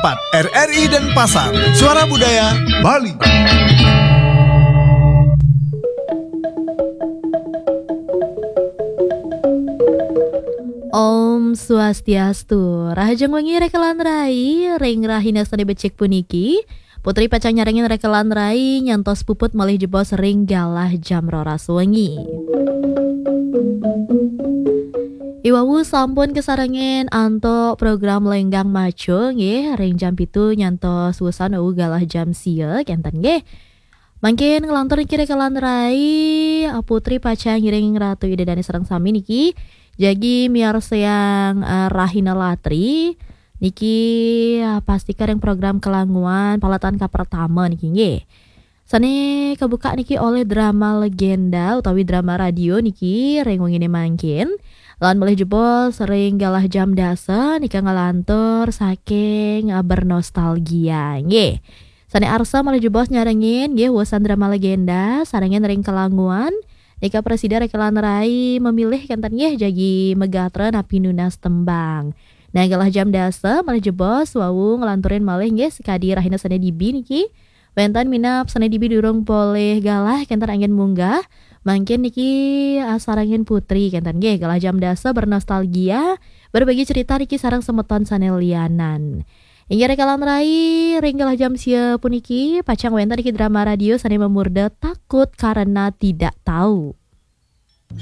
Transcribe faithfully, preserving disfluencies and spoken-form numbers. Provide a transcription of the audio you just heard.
empat R R I Denpasar, Suara Budaya Bali. Om Swastiastu. Rahajeng wengi rekelan rai, ring rahina sane becik puniki, Putri pacang nyarengin rekelan rai nyantos puput malih jebos ring galah jam roras wengi. Iwawu sampun kasarengin antuk program Lenggang Maco nggih, ring jam pitu nyantos wusan wau galah jam sia kenten nggih. Mangkin nglantur niki rekelan rai, Putri pacang ngiring Ratu Ida Dane sareng sami niki. Jagi miarsayang, eh, rahina latri niki, eh, pastika ring program Kelanguan paletan kapertama niki nggih. Sane kabuka niki olih drama legenda utawi drama radio niki ring wengine mangkin. Lan malih jebos ring galah jam dasa nika nglantur saking, eh, Bernostalgia nggih. Sane arsa malih jebos nyarengin nggih wusan drama legenda sarengin ring Kelanguan. Nika prasida rekelan rai memilih kenten nggih jagi megatra napi nunas tembang. Nah, galah jam dasa malih jebos wau nglanturin malih nggih sakadi rahina sane dibi niki. Wenten minab sane dibi durung polih galah kenten anggen munggah. Mangkin niki, ah, sarengin Putri kenten nggih galah jam dasa bernostalgia, berbagi cerita niki sareng semeton sane lianan. Inggih rekelan rai, ring galah jam sia puniki pacang wenten niki drama radio sane mamurda Takut Karena Tidak Tahu.